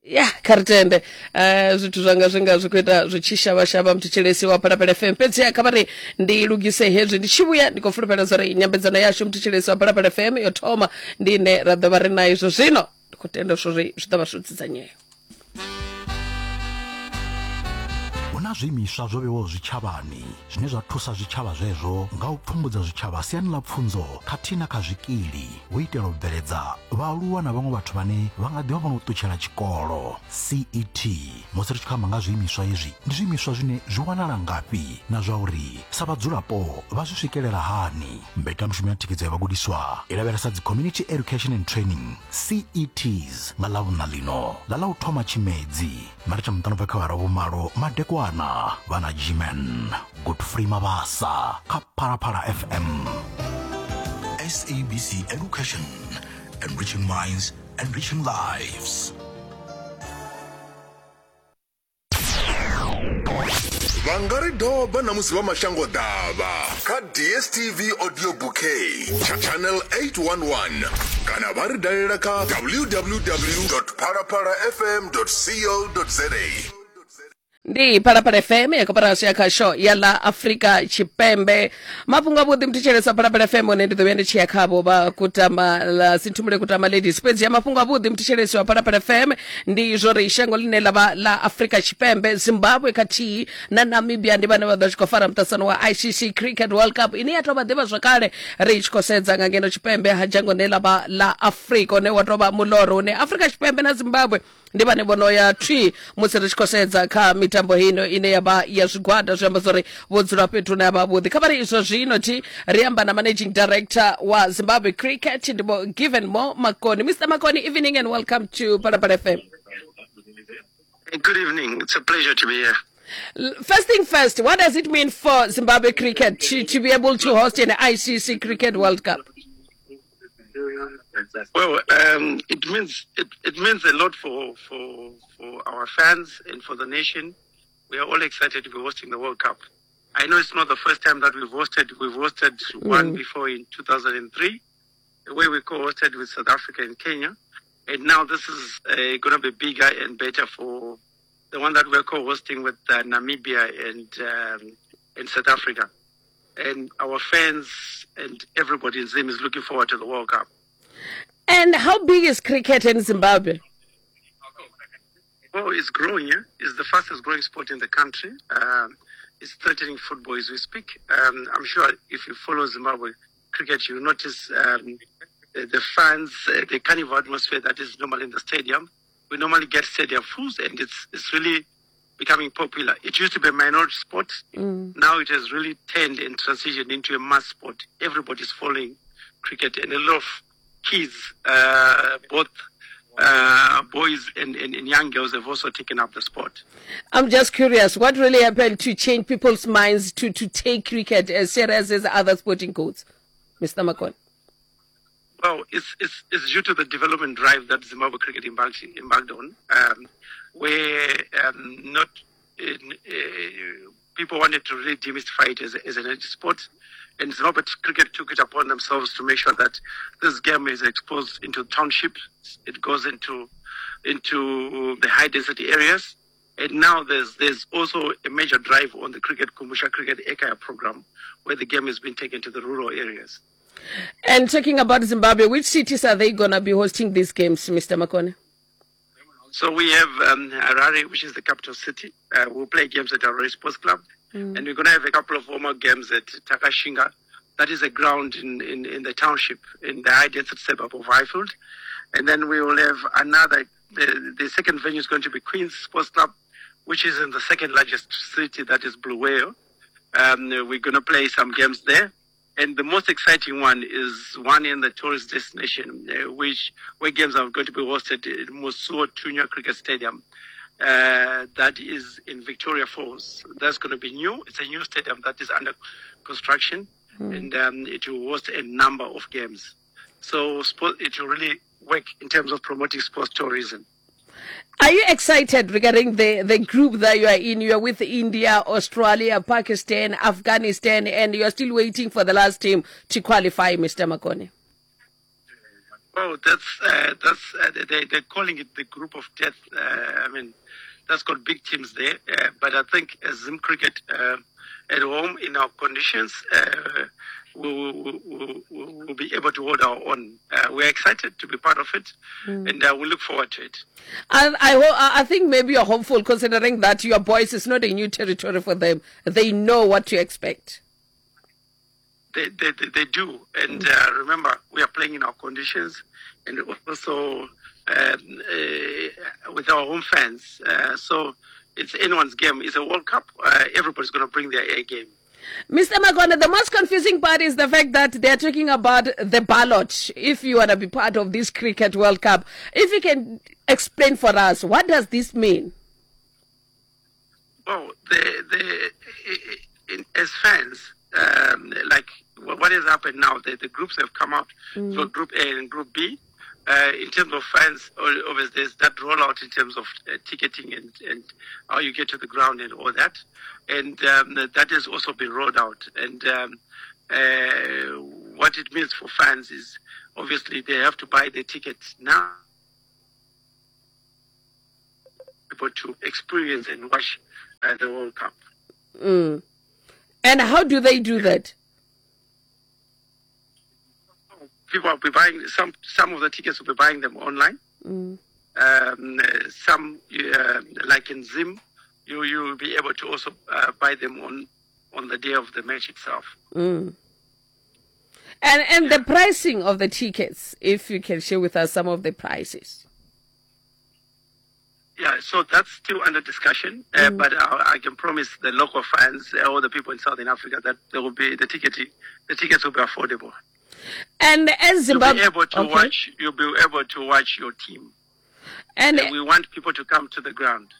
Ya kha ri tende zwithu zwanga zwi nga zwi khou ita zwi tshi shavha-shavha muthetshelesi wa Phalaphala FM. Fhedziha kha vha ri ndi lugise hezwi ndi tshi vhuya ndi khou fulufhela zwa uri nyambedzano yashu muthetshelesi wa Phalaphala FM yo thoma ndi ine ra ḓo vha ri nayo izwo zwino ndi khou tenda zwa uri zwi ḓo vha zwo dzudzanyea. Hu na zwiimiswa zwo vhewaho zwitshavhani zwine zwa thusa zwitshavha zwezwo nga u pfumbudza zwitshavha siani ḽa pfunzo khathihi na kha zwikili hu itela u bveledza vhaaluwa na vhaṅwe vhathu vhane vha nga ḓivha vho no ṱutshela tshikolo CET. Musi ri tshi khou amba nga zwiimiswa hezwi, ndi zwiimiswa zwine zwi wanala ngafhi na zwa uri sa vhadzulapo vha zwi swikelela hani? Mbekanyamushumo ya thikhedzo ya vhagudiswa i lavhelesa dzi Community Education and Training CETs nga Ḽavhuṋa ḽino ḽa ḽa u thoma Tshimedzi Mara tsha muṱanu bva kha vhara vhumalo madekwana vha na Gman Godfrey Mabasa kha Phalaphala FM. SABC Education, enriching minds, enriching lives. Vha nga ri doba na musi vha mashango ḓavha kha DSTV audio bouquet channel 811 kana vha ri dalela kha www phalaphala fm co za. Ndi Phalaphala FM ya koporasi ya khasho ya ḽa Afrika Tshipembe. Mafhungo avhuḓi muthetshelesa Phalaphala FM hone ndi ḓo vhuya ndi tshi ya khavho vha kutama ḽa Sinthumule Kutama Ladies. Fhedzi ya mafhungo avhuḓi muthetshelesi wa Phalaphala FM ndi zwo ri shango ḽine ḽa vha ḽa Afrika Tshipembe, Zimbabwe khathihi na Namibia ndi vhane vha ḓo tshi khou fara muṱaṱisano wa ICC Cricket World Cup ine ya tou vha ḓivha zwakale ri tshi khou sedza nga ngeno tshipembe ha dzhango ḽine ḽa vha ḽa Afrika une wa tou vha muloro une Afrika Tshipembe na Zimbabwe ndi vhane vho no ya thwi musi ri tshi khou sedza kha mitambo heino ine ya vha ya zwigwada zwi amba zwori vho dzula fhethu hune ha vha vhuḓi kha vha ri izwo zwino thi ri amba na managing director wa Zimbabwe Cricket ndi vho Given Mo Makoni. Mr Makoni, evening and welcome to Phalaphala FM. Good evening. It's a pleasure to be here. First thing first, what does it mean for Zimbabwe cricket to be able to host an ICC Cricket World Cup? Well, it means it means a lot for our fans and for the nation. We are all excited to be hosting the World Cup. I know it's not the first time that we've hosted. We've hosted one before in 2003, where we co-hosted with South Africa and Kenya. And now this is going to be bigger and better for the one that we're co-hosting with Namibia and South Africa. And our fans and everybody in Zim is looking forward to the World Cup. And how big is cricket in Zimbabwe? Well, it's growing. Yeah? It's the fastest growing sport in the country. It's threatening football as we speak. I'm sure if you follow Zimbabwe cricket, you'll notice the fans, the carnival atmosphere that is normally in the stadium. We normally get stadium fulls, and it's really becoming popular. It used to be a minority sport. Now it has really turned and transitioned into a mass sport. Everybody's following cricket, and a lot of kids, both boys and young girls, have also taken up the sport. I'm just curious, what really happened to change people's minds to take cricket as serious as other sporting codes, Mr. Makoni? Well, it's due to the development drive that Zimbabwe cricket embarked on, where not in, people wanted to really demystify it as an energy sport. And Zimbabwe cricket took it upon themselves to make sure that this game is exposed into townships. It goes into the high density areas. And now there's also a major drive on the Cricket Kumusha Cricket Ekaya program, where the game has been taken to the rural areas. And talking about Zimbabwe, which cities are they going to be hosting these games, Mr. Makoni? So we have Harare, which is the capital city. We'll play games at Harare Sports Club. And we're going to have a couple of warm-up games at Takashinga. That is a ground in the township, in the high-density suburb of Highfield. And then we will have another, the second venue is going to be Queen's Sports Club, which is in the second largest city, that is Bulawayo. We're going to play some games there. And the most exciting one is one in the tourist destination, where games are going to be hosted in Mosi-oa-Tunya Cricket Stadium. That is in Victoria Falls. That's going to be new. It's a new stadium that is under construction, and it will host a number of games. So it will really work in terms of promoting sports tourism. Are you excited regarding the group that you are in? You are with India, Australia, Pakistan, Afghanistan, and you are still waiting for the last team to qualify, Mr. Makoni. Oh, that's they're calling it the group of death. I mean, that's got big teams there. But I think as Zim Cricket at home in our conditions, we will be able to hold our own. We're excited to be part of it, and we look forward to it. And I think maybe you're hopeful considering that your boys is not a new territory for them. They know what to expect. They do. And remember, we are playing in our conditions and also with our home fans. So it's anyone's game. It's a World Cup. Everybody's going to bring their A game. Mr. Makwana, the most confusing part is the fact that they're talking about the ballot if you want to be part of this Cricket World Cup. If you can explain for us, what does this mean? Well, as fans, like what has happened now, the groups have come out for Group A and Group B. In terms of fans, obviously there's that rollout in terms of ticketing and how you get to the ground and all that. And that has also been rolled out. And what it means for fans is obviously they have to buy their tickets now able to experience and watch the World Cup. And how do they do that? People will be buying some of the tickets will be buying them online. Some, like in Zim, you will be able to also buy them on the day of the match itself. And the pricing of the tickets, if you can share with us some of the prices. Yeah, so that's still under discussion, but I can promise the local fans, all the people in Southern Africa, that there will be the tickets will be affordable. And as Zimbabwe, you'll be able to watch. You'll be able to watch your team. And we want people to come to the ground.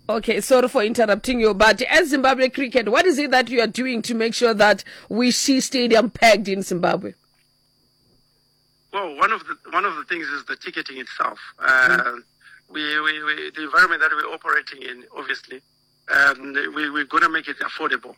Okay, sorry for interrupting you, but as Zimbabwe Cricket, what is it that you are doing to make sure that we see stadium packed in Zimbabwe? Well, one of the things is the ticketing itself. We the environment that we're operating in, obviously, we're going to make it affordable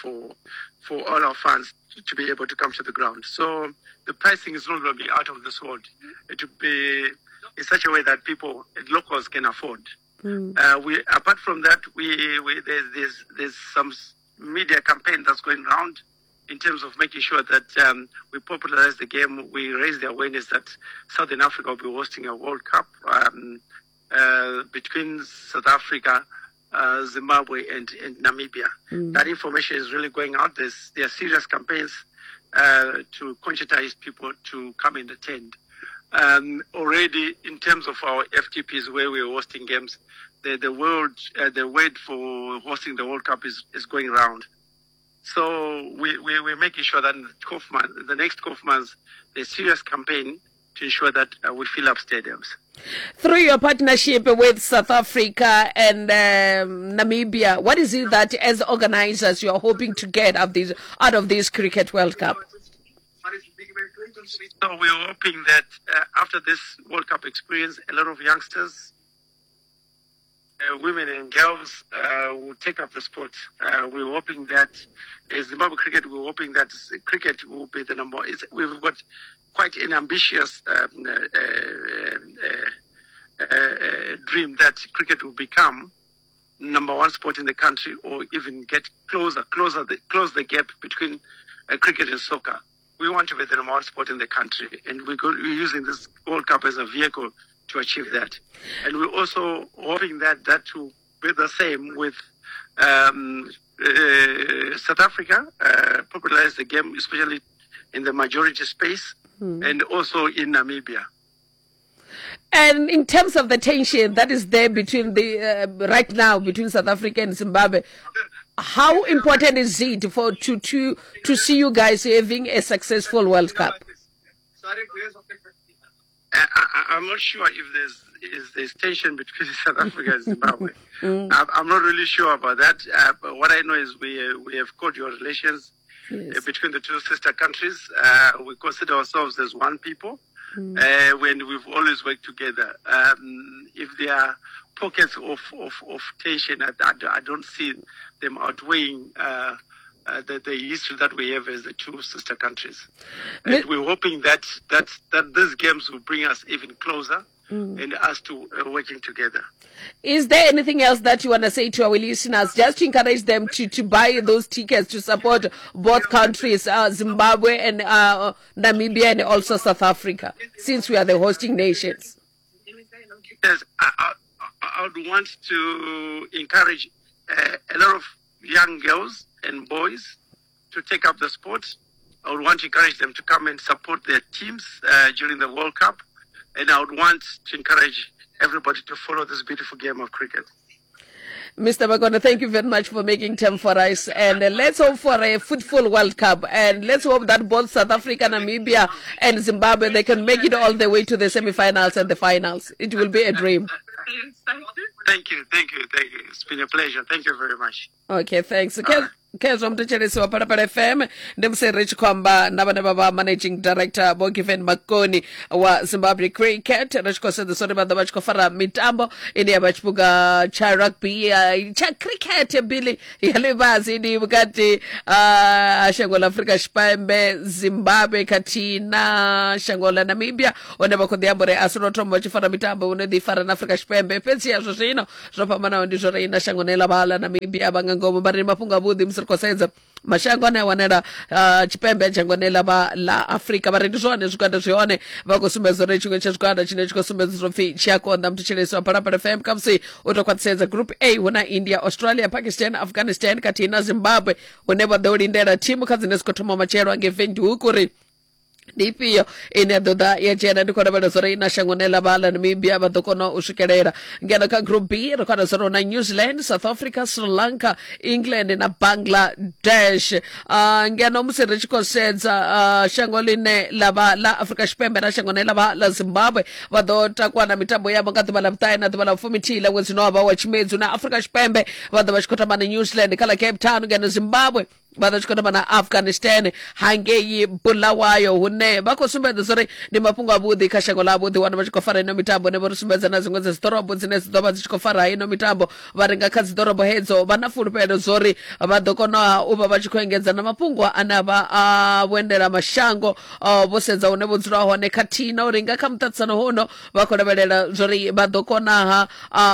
for all our fans to be able to come to the ground. So the pricing is not going to be out of this world. It will be in such a way that people, locals, can afford. We apart from that, we there's some media campaign that's going round in terms of making sure that we popularize the game, we raise the awareness that Southern Africa will be hosting a World Cup between South Africa, Zimbabwe, and Namibia. That information is really going out. There are serious campaigns to conscientize people to come and attend. Already, in terms of our FTPs where we're hosting games, the word for hosting the World Cup is going round. So we're making sure that in the 12 months, the next 12 months, there's serious campaign to ensure that we fill up stadiums. Through your partnership with South Africa and Namibia, what is it that as organizers you are hoping to get out of this Cricket World Cup? So we're hoping that after this World Cup experience, a lot of youngsters, women and girls will take up the sport. We're hoping that Zimbabwe cricket, we're hoping that cricket will be the number. We've got quite an ambitious dream that cricket will become number one sport in the country, or even get close the gap between cricket and soccer. We want to be the number one sport in the country, and we're using this World Cup as a vehicle to achieve that. And we're also hoping that that will be the same with South Africa, popularize the game, especially in the majority space, and also in Namibia. And in terms of the tension that is there between the right now between South Africa and Zimbabwe, how important is it for to see you guys having a successful World Cup? I'm not sure if there's tension between South Africa and Zimbabwe. I'm not really sure about that. But what I know is we have cordial relations between the two sister countries. We consider ourselves as one people. When we've always worked together. If there are pockets of tension, I don't see them outweighing the history that we have as the two sister countries. And we're hoping that these games will bring us even closer and us to working together. Is there anything else that you want to say to our listeners, just to encourage them to buy those tickets to support both countries, Zimbabwe and Namibia, and also South Africa, since we are the hosting nations? Yes, I would want to encourage a lot of young girls and boys to take up the sport. I would want to encourage them to come and support their teams during the World Cup. And I would want to encourage everybody to follow this beautiful game of cricket. Mr. Makoni, thank you very much for making time for us. And let's hope for a fruitful World Cup. And let's hope that both South Africa, Namibia, and Zimbabwe, they can make it all the way to the semi-finals and the finals. It will be a dream. Thank you, thank you, thank you. It's been a pleasure. Thank you very much. Okay, thanks. Khezwo muthetshelesi wa Phalaphala FM, ndi musi ri tshi khou amba na vhane vha vha managing director Vho Given Makoni wa Zimbabwe Cricket, ri tshi khou sedzesa uri vha ḓo vha tshi khou fara mitambo ine ya vha tshiphuga tsha rugby, tsha cricket bili ya ḽifhasi ndi vhukati ha shango ḽa Afrika Tshipembe, Zimbabwe khathihi na shango ḽa Namibia, hune vha khou ḓi amba uri a si lwo thoma vha tshi fara mitambo hune ḓi fara na Afrika Tshipembe, fhedzi ya zwo zwino zwo fhambanaho ndi zwo ri na shango ḽine ḽa vha ḽa Namibia vha nga ngomu. Vha ri mafhungo avhuḓi musi ri khou sedza mashango ane a wanala tshipembe a dzhango ḽine ḽa vha ḽa Afrika, vha ri ndi zwone zwigwada zwi hone, vha khou sumbedza uri tshiṅwe tsha zwigwada tshine tshi khou sumbedza zwo pfhi tshi a konḓa. Muthetshelesi wa Phalaphala FM, khamusi u tou khwaṱhisedza group A hu na India, Australia, Pakistan, Afghanistan khathihi na Zimbabwe, hune vha ḓo lindela thimu kha dzine dzi khou thoma matshelo angei Windhoek uri ndi ifhio ine ya ḓo ḓa ya dzhena. Ndi khou lavhelela zwa uri na shango ḽine ḽa vha ḽa Namibia vha ḓo kona u swikelela. Ngeno kha group B ri khou wana zwa uri hu na New Zealand, South Africa, Sri Lanka, England na Bangladesh. Ngeno musi ri tshi khou sedza shango ḽine ḽa vha ḽa Afrika Tshipembe na shango ḽine ḽa vha ḽa Zimbabwe vha ḓo takuwa na mitambo yavho nga ḓuvha ḽa vhuṱahe na ḓuvha ḽa vhufumithihi ḽa ṅwedzi une wa vha wa Tshimedzi. Na Afrika Tshipembe vha ḓo vha tshi khou tamba na New Zealand kha ḽa Cape Town, ngeno Zimbabwe vha ḓo tshi khou tamba na Afghanistan hangei Bulawayo, hune vha khou sumbedza uri ndi mafhungo avhuḓi kha shango ḽavho ḓi wana vha tshi khou fara ino mitambo. Ne vho ri sumbedza na dziṅwe dza dziḓorobo dzine dzi ḓo vha dzi tshi khou fara ino mitambo, vha ri nga kha dziḓorobo hedzo vha na fulufhelo zwo ri vha ḓo kona u vha vha tshi khou engedza na mafhungo ane a vha a vhuendela mashango vho sedza hune vho dzula hone, khathihi na uri nga kha muṱaṱisano huno vha khou lavhelela zwori vha ḓo konaha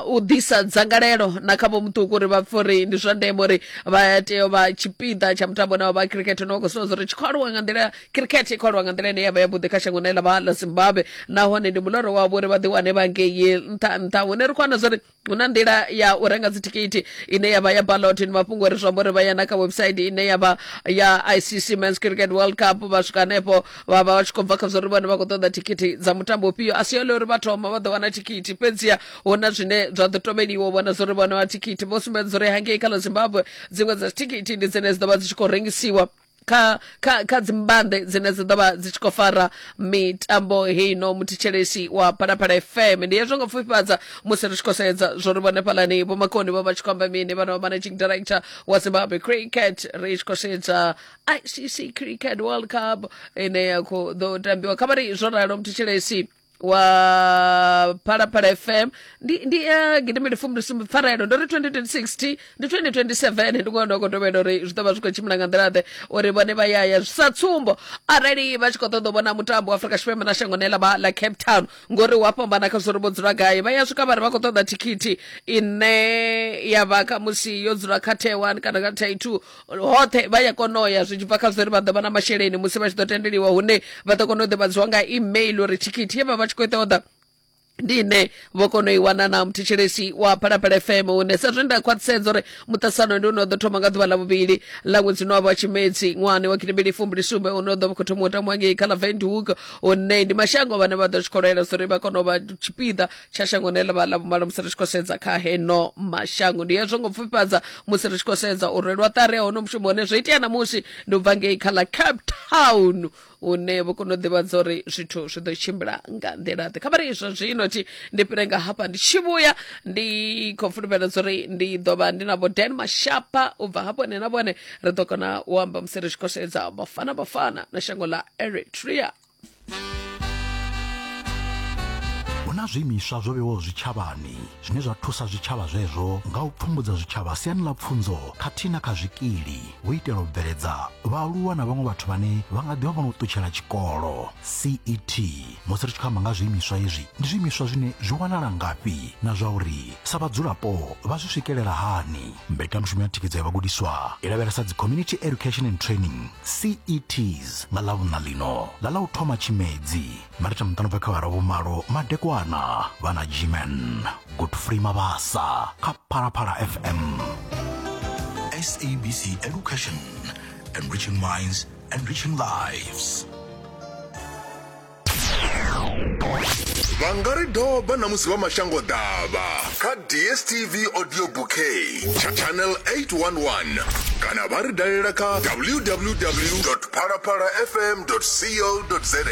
u ḓisa dzangalelo na kha vho muṱuku uri vha pfe uri ndi zwa ndeme uri vha tea u vha tshipiḓa tsha mutambo une wa vha cricket, une wa khou sumbedza uri tshi khou aluwa nga nḓila, cricket i khou aluwa nga nḓila ine ya vha yavhuḓi kha shango ḽine ḽa vha ḽa Zimbabwe, nahone ndi muloro wavho uri vha ḓi wane vha ngei nṱha nṱha. Hune ri khou wana zwori hu na nḓila ya u renga dzithikhithi ine ya vha ya ballot, ndi mafhungo uri zwi amba uri vha ya na kha website ine ya vha ya ICC Men's Cricket World Cup, vha swika hanefho vha vha vha tshi khou bva kha zwa uri vhone vha khou ṱoḓa thikhithi dza mutambo ufhio. A si yone uri vha thoma vha ḓo wana thikhithi, fhedziha hu na zwine zwa ḓo tovheliwa u vhona zwa uri vhone vha thikhithi. Vho sumbedza uri hangei kha ḽa Zimbabwe dziṅwe dza thikhithi ndi dzine dzi ḓo vha dzi tshi khou rengisiwa kha kha kha dzimbanḓe dzine dzi ḓo vha dzi tshi khou fara mitambo heino. Muthetshelesi wa Phalaphala FM, ndi hezwo nga pfufhifhadza musi ri tshi khou sedza zwo ri vhone fhalani Vho Makoni vho vha tshi khou amba mini, vhana vha managing director wa Zimbabwe Cricket, ri tshi khou sedza ICC Cricket World Cup ine ya khou ḓo tambiwa. Kha vha ri zwo ralo muthetshelesi wa Phalaphala FM, ndi gidimbili fumbili sumbe pfarelo ndo ri 2026 ndi 2027, ndi ngona khou tovhela uri zwi ḓo vha zwi khou tshimbila nga nḓila ḓe uri vhone vha yaya. Sa tsumbo, arali vha tshi khou ṱoḓa u vhona mutambo wa Afrika Tshipembe na shango ḽine ḽa vha ḽa Cape Town, ngori wa fhambana kha zwo ri vho dzula gai, vha ya swika vha ri vha khou ṱoḓa thikhithi ine ya vha khamusi yo dzula kha tier 1 kana kha tier 2, hoṱhe vha ya kona u ya zwi tshi bva kha zwa uri vha ḓo vha na masheleni musi vha tshi ḓo tendeliwa, hune vha ḓo kona u ḓivhadziwa nga email uri thikhithi ye vha vha tshi khou i ṱoḓa ndi ine vho kona u i wana. Na muthetshelesi wa Phalaphala FM, hune sa zwe nda khwaṱhisedza uri muṱaṱisano ndi une wa ḓo thoma nga ḓuvha ḽa vhuvhili ḽa ṅwedzi une wa vha Tshimedzi ṅwahani wa 2027, une wa ḓo vha khou thoma u tambiwa ngei kha ḽa Windhoek, hune ndi mashango vhane vha ḓo tshi khou lwela uri vha kone u vha tshipiḓa tsha shango ḽine ḽa vha ḽa vhumalo musi ri tshi khou sedza kha heno mashango. Ndi hezwo ngo pfufhifhadza musi ri tshi khou sedza u rwelwa ṱari ya hono mushumo, hune zwo itea ṋamusi ndi u bva ngei kha ḽa Cape Town, hune vho kona u ḓivhadza uri zwithu zwi ḓo tshimbila nga nḓila ḓe. Kha vha ri izwo zwino thi ndi fhire nga hafha ndi tshi vhuya, ndi khou fulufhela uri ndi ḓo vha ndi na vho Dan Mashapa, u bva hafho nṋe na vhone ri ḓo kona u amba musi ri tshi khou sedza Bafana Bafana na shango ḽa Eritrea. Hu na zwiimiswa zwo vhewaho zwitshavhani zwine zwa thusa zwitshavha zwezwo nga u pfumbudza zwitshavha siani ḽa pfunzo khathihi na kha zwikili hu itela u bveledza vhaaluwa na vhaṅwe vhathu vhane vha nga ḓivha vho no ṱutshela tshikolo. CET. Musi ri tshi khou amba nga zwiimiswa hezwi, ndi zwiimiswa zwine zwi wanala ngafhi na zwa uri sa vhadzulapo vha zwi swikelela hani? Mbekanyamushumo ya thikhedzo ya vhagudiswa i lavhelesa dzi Community Education and Training, CETs, nga Ḽavhuṋa ḽino ḽa ḽa u thoma Tshimedzi, marita muṱanu bva kha awara vhumalo madekwana vha na Gman Godfrey Mabasa kha Phalaphala FM. SABC Education, enriching minds, enriching lives. Vha nga ri doba na musi vha mashango ḓavha kha DSTV audio bouquet channel 811 kana vha ri dalela kha www phalaphala fm co za.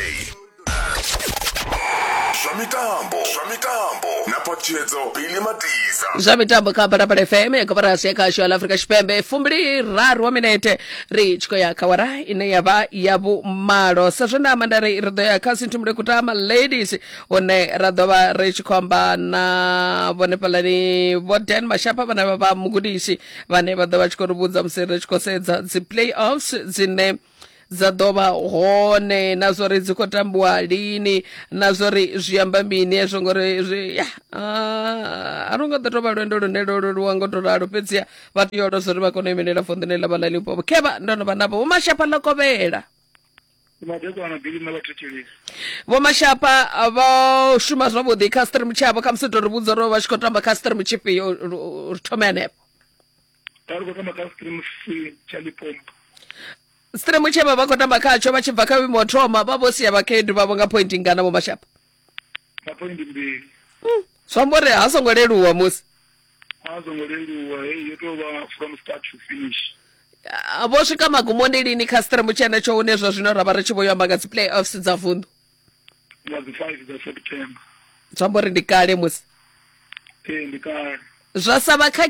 Zwa mitambo, zwa mitambo na phaṱhutshedzo Billy Matiza. Zwa mitambo kha Phalaphala FM ya koporasi ya khasho ya ḽa Afrika Tshipembe, 23 wa minete ri tshi khou ya kha wara ine ya vha ya vhumalo. Sa zwe nda amba nda ri ri ḓo ya kha Sinthumule Kutama Ladies, hune ra ḓo vha ri tshi khou amba na vhone fhalani Vho Dan Mashapha, vhane vha vha mugudisi, vhane vha ḓo vha tshi khou ri vhudza musi ri tshi khou sedza dzi play-offs dzine dza ḓo vha hone, na zwo ri dzi khou tambiwa lini, na zwo ri zwi amba mini hezwo, ngori zwi ya a lu nga ḓo tou vha lwendo lune lwo leluwa ngo to ralo, fhedziha vha tea u lozwa uri vha kone u imelela vunḓu ḽine ḽa vha ḽa Limpopo. Khevha ndo no vha navho Vho Mashapha ḽa kovhela. Madekwana bili na vhathetshelesi. Vho Mashapha vho shuma zwavhuḓi kha stream tshavho, kha musi to ri vhudza uri vha tshi khou tamba kha stream tshifhio, ri thome hanefho. Vha ri khou tamba kha stream C tsha Limpopo. Stream tshe vha vha khou tamba khatsho vha tshi bva kha vhuimo ho thoma vha vho sia vhakhaedu vhavho nga pointi ngana Vho Mashapha? Nga pointi mbili. Zwi amba uri ha songo leluwa musi. A songo leluwa, heyi yo tou vha from start to finish. Vho swika magumoni lini kha stream tshenetsho hune zwa zwino ra vha ri tshi vho yo amba nga dzi play-offs dza vunḓu? Nga dzi 5 dza September. Zwi amba uri ndi kale musi. Ee, ndi kale. Zwa sa vha kha